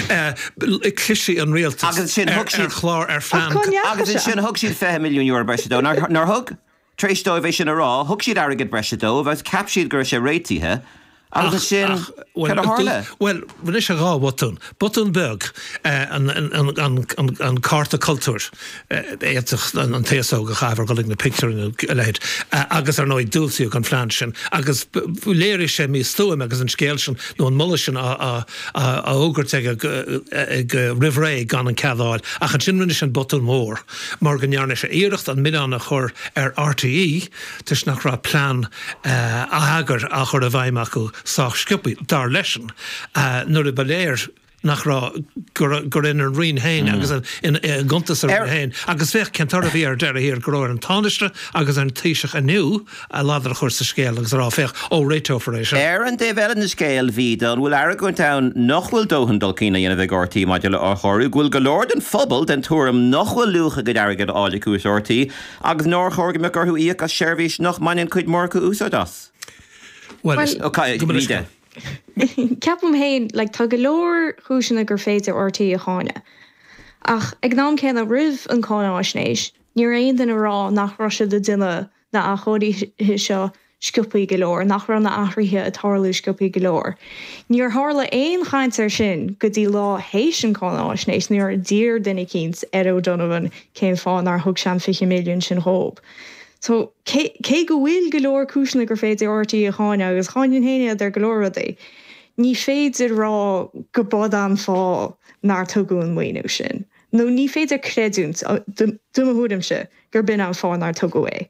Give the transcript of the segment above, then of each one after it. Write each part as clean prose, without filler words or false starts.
Cliseadh an rialtas Agus ansin ar thug siad chlár ar phlean. Ach cá ndeachaigh Agus sé? ansin thug siad €20 milliún breise dó. Nár nár thug? Tar éis dóibh é sin a rá, thug siad airgead breise dóibh agus cheap siad go raibh sé réitithe agus ansin cad a tharla? Bhuel, rinne sé dhá bhotún. Botún beag, an cárta cultúir, d'fhéadfadh an t-aos óg a chaitheamh ar dhul ag na pictiúrlanna nó a leithéid, agus ar ndóigh diúltaíodh an phlean sin agus léirigh sé místuaim agus an scéal sin nó an moladh sin á fhógairt aige roimh ré gan an cead a fháil. Ach ansin rinne sé an botún mór mar go ndearna sé iarracht an milleán a chur ar RTÉ toisc nach raibh plean atheagair á chur i bhfeidhm acu sách sciobtha, dar leisean, nuair a ba léir nach raibh, gur ina Roinn féin agus i gcuntas a Roinne féin. Agus féach cén toradh a bhí ar deireadh thiar, go raibh ar an Tánaiste agus ar an Taoiseach inniu a ladar a chur sa scéal agus a rá, féach, ó, réiteofar é seo. Ar an dtaobh eile den scéal, Mhíde, an bhfuil argóint ann nach bhfuil dóthain dul chun cinn á dhéanamh ag RTÉ maidir le athchóiriú, go bhfuil go leor den phobal den tuairim nach bhfuil luach a gcuid airgid á fháil acu as RTÉ agus nár chóir go mbeadh orthu íoc as seirbhís nach mbaineann cuid mhór acu úsáid as? Bhuel, is. Ó, Míde. Ceapaim féin, like, tá go leor cúiseanna gur féidir RTÉ a cháineadh. Ach ag an am céanna, roimh an cáináisnéis, ní raibh aon duine ag rá nach raibh siad ag déanamh na athchóirithe seo sciobthaí go leor, nach raibh na athruithe ag tarlú sciobthaí go leor. Níor tharla aon chaint air sin go dtí lá théis an cáináisnéis, nuair a d'iarr duine eicínt ar O'Donovan cén fáth nár thug sé an 20 milliún sin dhób. So, cé cé go bhfuil go leor cúiseanna gur féidir RTÉ a cháineadh, agus cháinfinn féin iad ar go leor rudaí, ní féidir rá go b'in an fáth nár tugadh an maoiniú sin. Nó ní féidir creidiúint, do mo thuairimse, gur b'in an fáth nár tugadh é.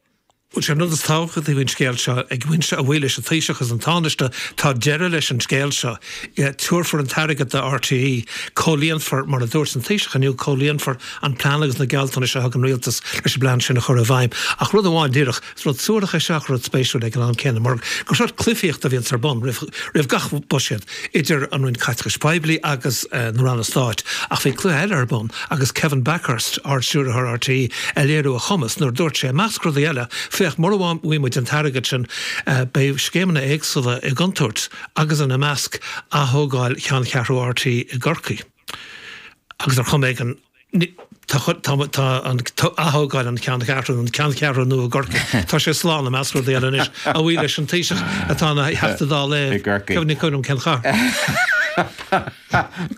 Bhuel, sé an rud is tábhachtaí faoin scéal seo, ag baint, a bhuí leis an Taoiseach agus an Tánaiste, tá deireadh leis an scéal seo. Tabharfar an t-airgead do RTÉ, comhlíonfar, mar a dúirt an Taoiseach inniu, comhlíonfar an plean agus na gealltanais a thug an Rialtas leis an bplean sin a chur i bhfeidhm. Ach rud amháin díreach, is rud suarach é seo ach rud spéisiúil ag an am céanna, mar gur sórt cluifíocht a bhíonns ar bun roimh roimh gach buiséad idir an Roinn Caiteachais Poiblí agus na Ranna Stáit. Ach bhí cluiche eile ar bun agus Kevin Bakhurst, Ard-Stiúrthóir RTÉ, ag léiriú a chumas nuair a dúirt sé, i measc rudaí eile, féach, mura bhfaighidh muid an t-airgead sin, beidh scéimeanna éagsúla i gcontúirt agus ina measc ath-thógáil cheanncheathrú RTÉ i gCorcaigh. Agus ar chuma éigin, tá an ath-thógáil an cheanncheathrú, an ceanncheathrú nua i gCorcaigh, tá sé slán i measc rudaí eile anois, a bhuí leis an Taoiseach atá ina Theachta Dála i gCorcaigh. Ní cuimhin liom cén chathair.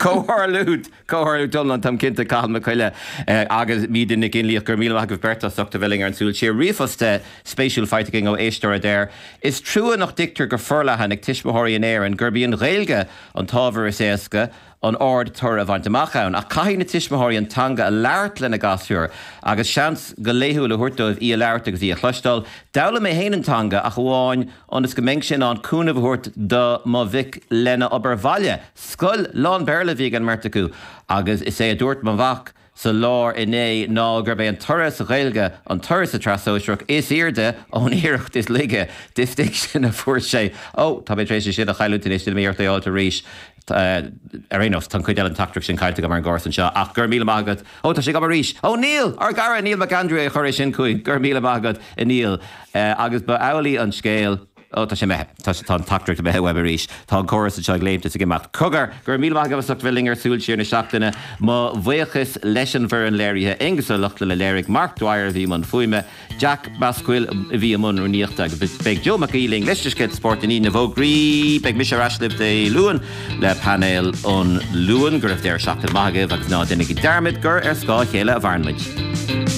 Comhtharlúint, comhtharlúint iomlán, táim cinnte, Cathal Mac Coille agus Míde Nic Fhionnlaoich, go raibh míle maith agaibh beirt as ucht a bheith linn ar an Súil Siar. Ríomhphost spéisiúil faighte againn ó éisteoir a deir, Is trua nach dtuigtear go forleathan ag tuismitheoirí in Éirinn gurb í an Ghaeilge an t-ábhar is éasca an ard-toradh a bhaint amach ann, ach caithfidh na tuismitheoirí an teanga a labhairt lena gasúir agus seans go laethúil a thabhairt dóibh í a labhairt agus í a chloisteáil. D'fhoghlaim mé féin an teanga ach amháin ionas go mbeinnse in ann cúnamh a thabhairt do mo mhic lena obair bhaile. Scoil lán-Bhéarla a bhí ag an mbeirt acu agus is é a dúirt mo mhac sa lár inné ná gurb é an toradh sa Ghaeilge an toradh sa tSraith Sóisearach is airde ón iarracht is laige distinction a fuair sé. Ó, tá mé tar éis é sin a chailliúint anois, déanfaidh mé iarracht é a fháilt arís. Ar aon nós, tá an chuid eile den teachtaireacht sin caillte agam ar an gcóras anseo, ach go raibh míle maith agat. Ó, tá sé agam arís! Ó, Neil! Ár gcara Neil McAndrew a chuir é sin chugainn. Go raibh míle maith agat, a Neil. Agus ba amhlaidh an scéal. Ó, tá sé imithe. Tá sé, tá an teachtaireacht imithe uaim arís. Tá an córas anseo ag léimt is ag imeacht. Cogar! Go raibh míle maith agaibh as ucht bheith linn ar Súil Siar na seachtaine. Mo bhuíochas leis an bhfoireann léirithe, Aengus Ó Lochlainn a léirigh, Mark Dwyer a bhí i mbun fuaime, Jack Basquill a bhí i mbun rúnaíochta agus beidh Joe Mac Aoidh linn leis na scéalta spóirt i ndiaidh na bhfógraí. Beidh mise ar ais libh Dé Luain le painéal an Luain. Go raibh deireadh seachtaine maith agaibh agus ná déanaigí dearmad gur ar scáth a chéile a mhaireann muid.